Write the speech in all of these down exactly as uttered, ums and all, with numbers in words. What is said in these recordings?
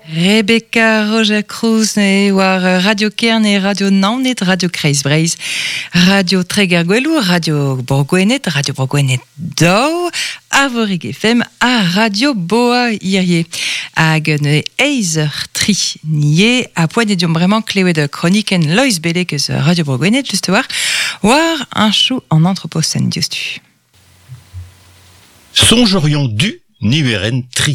Rebecca Roger Cruz ne war Radio Kerne, Radio Naoned, Radio Kreiz Breizh, Radio Treger-Goueloù, Radio Bro Gwened, Radio Bro Gwened daou, Arvorig F M ha Radio Boa hirie. Hag ne eizh eur tri nie a poent eo deomp bremañ klevet kronikenn Loeiz Bellec eus Radio Bro Gwened, just war, war un chou an anthropocène diouzhtu. Sonjorion du niweren tri.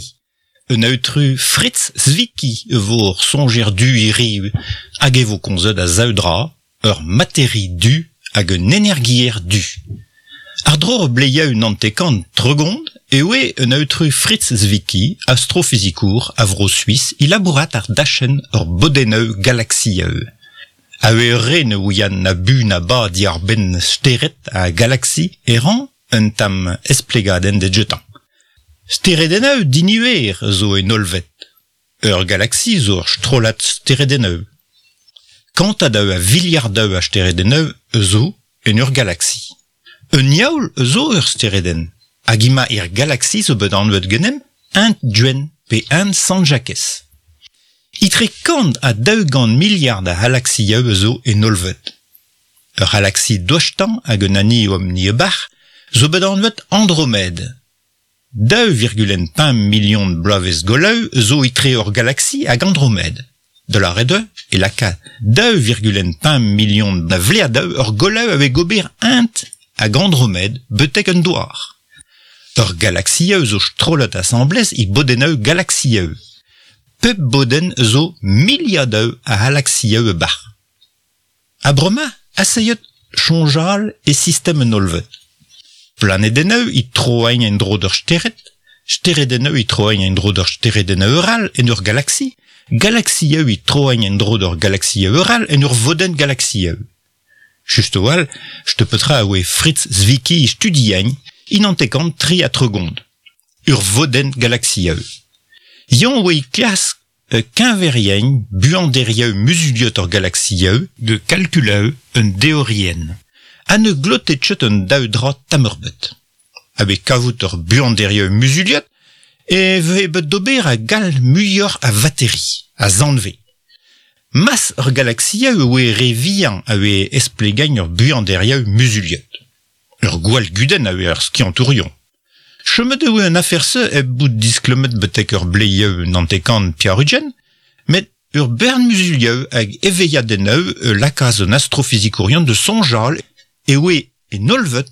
Un autru Fritz Zwicky vor songer du iri hag e vo komzet a zaoudra ur materi du hag un energier du. Ar dro bleia un antekant tregond e oe un autru Fritz Zwicky, astrofizikour a vro Suisse, ilabourat ar dachen ur bodeneu galaxieu. A oe re ne ouian na bu na ba di ar ben steret a galaxie eran un tam esplegaden de jetan. Steredeneu diniwer zo en olvet. Ur galaxie zo ur strolat steredeneu. Kantadeu a viliardeu a steredeneu zo en ur galaxie. Un yaoul zo ur stereden. Hag ima ir galaxie zo bet anvet genem un duen pe un Saint-Jacques. Itre kant a daou gant miliard a galaxieu zo en olvet. Ur galaxie dochtan hag un ani om ni bar zo bet anvet Andromède. Daou virgule pemp million de bloavezh goleu zo itre ur galaxie hag Andromède. De la re deux e laka daou virgule pemp million de vleadaou ur goleu ave gober int hag Andromède betek un douar. Ur galaxieu zo strolet assemblez i bodeneu galaxieu. Pep boden zo miliadeu a galaxieu e bar. A brema, asseyot chonjal e system en olvet. Planedeneu i troain en dro d'ur steret, steredeneu i troain en dro d'ur steredeneu eural en ur galaxie, galaxieu i troain en dro d'ur galaxie eural en ur voden galaxieu. Just oal, je petra a oe Fritz Zwicky studiain in antekant tri a tregond. Ur voden galaxieu. Yon oe klask kinverien buanderieu musuliot ur galaxieu de calculeu un déorien. A ne glotetchet un daoudra tamurbet. Abe kavout ur buanderieu musuliot, e ve bet d'ober a gal muior a vateri, a zanve. Mas ur galaxieu oe re vihan a oe esplegain ur buanderieu musuliot. Ur gwall gudenn a oe ur skiantourion. Chemet oe un aferse e bout disklemet betek ur bleieu nantekant piarugen, met ur bern musulieu hag eveiadeneu e lakaz un astrofizikourion de sonjal e oe en olvet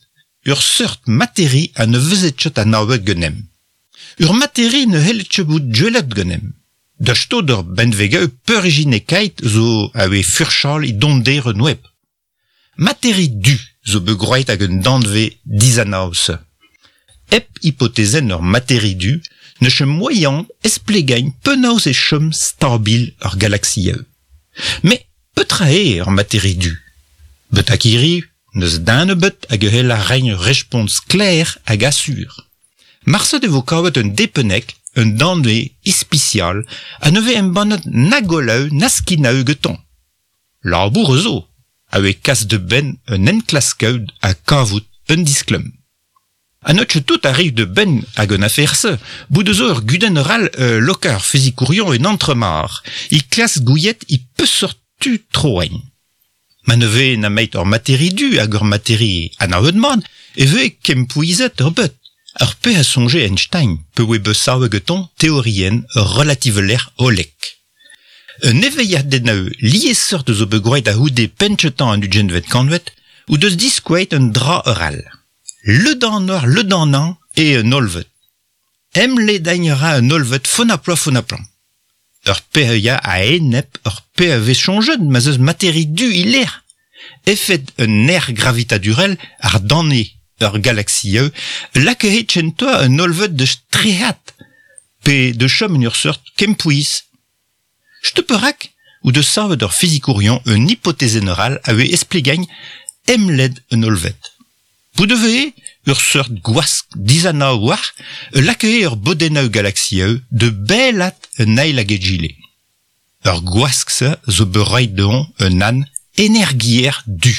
ur seurt materi a ne vezetchet a naouet genem. Ur materi ne helletche bout djelet genem. Da sto d'ur benvegeu peurijinekait zo a oe furchal i donder un web. Materi du zo begroait hag un danve dizanaus. Ep hypothezen ur materi du ne chem moyen esplegain penaos e chem stabil ur galaxieu. Mais petra e ur materi du. Bet akiri neus dan bet hag hel a rein respons clair hag assur. Marse de vo kavet un depenek, un danve ispicial, a neve embannet na goleu na skinau geton. Labour zo, a oe kas de ben un enklaskaud a kavout un disklum. A notche tout arrive de ben hag un affaire se, bout de zo ur guden ral euh, lokar fizikourion un entremar, i klas gouillet i peusort tu troen. Ma ne ve na meit ur materi du hag ur materi anavet mat, e ve kempouizet ur bet. Ur pe a sonje Einstein, pe oe besaoue geton théorien relativeler olek. Un eveiadeneu liesseurt zo begroet a houde pentchetan an ugenvet kanvet, ou deus diskouet un dra eural. Le dan ur, le dan an, e un olvet. Em le dagnera un olvet fonaploa fonaplan. Ur pe a a enep ur pe a vez chonjet, ma zeus materi du iler. Efet un air gravitadurel ar danne ur galaxieu, lakaet chentoa un olvet de strehat, pe de chom en ur seurt kempouiz. Steuperak ou de savet ur fizikourion un hypothèse neural a oe esplegain emled un olvet. Bout de ur seurt gwask dizana war, lakae ur bodeneu galaxieu de belat un eil hag egile. Ur gwask se zo beroit deon un an energier du.